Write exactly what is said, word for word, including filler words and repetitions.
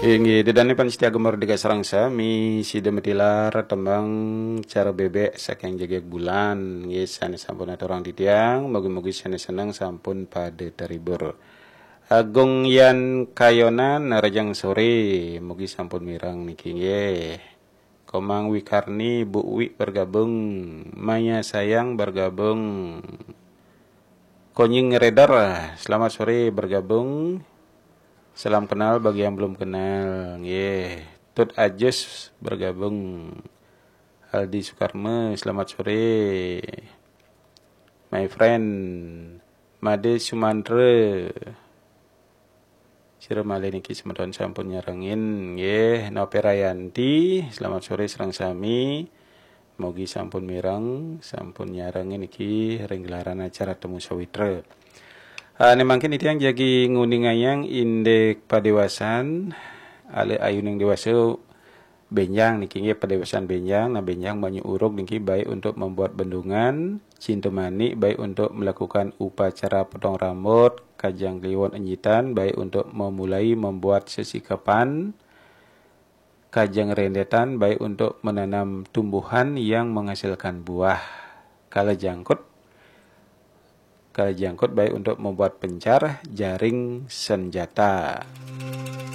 Inggih, ida dané pamiarsa Gema Merdeka sareng sami, sida matilar tembang Cara Bébék saking Jegég Bulan. Inggih, sané sampun aturang titiang, mugi-mugi sané seneng sampun pada terhibur. Agung Yan Kayonan, rahajeng soré, mugi sampun mireng niki nggih. Komang Wikarni, Bu Wi bergabung, Maya Sayang bergabung. Konying Redar, selamat sore bergabung. Salam kenal bagi yang belum kenal. Nggih. Tut Ajus bergabung. Aldi Sukarma, selamat sore. My friend Made Sumandra. Sira malih niki semeton sampun nyarengin nggih. Nopi Rayanti, selamat sore sareng sami. Mugi sampun mireng, sampun nyarengin niki ring gelaran acara Temu Sawitra. Ah, né mangkin titiang jagi nguningayang indik padéwasan, alih ayuning déwasa bénjang niki nggih padéwasan bénjang. Nah, bénjang banyu urug niki baik untuk membuat bendungan, cinta manik baik untuk melakukan upacara potong rambut, kajeng kliwon enjitan baik untuk memulai membuat sesikapan, kajeng rendetan baik untuk menanam tumbuhan yang menghasilkan buah. Kala jangkut, kala jangkut baik untuk membuat pencar, jaring, senjata.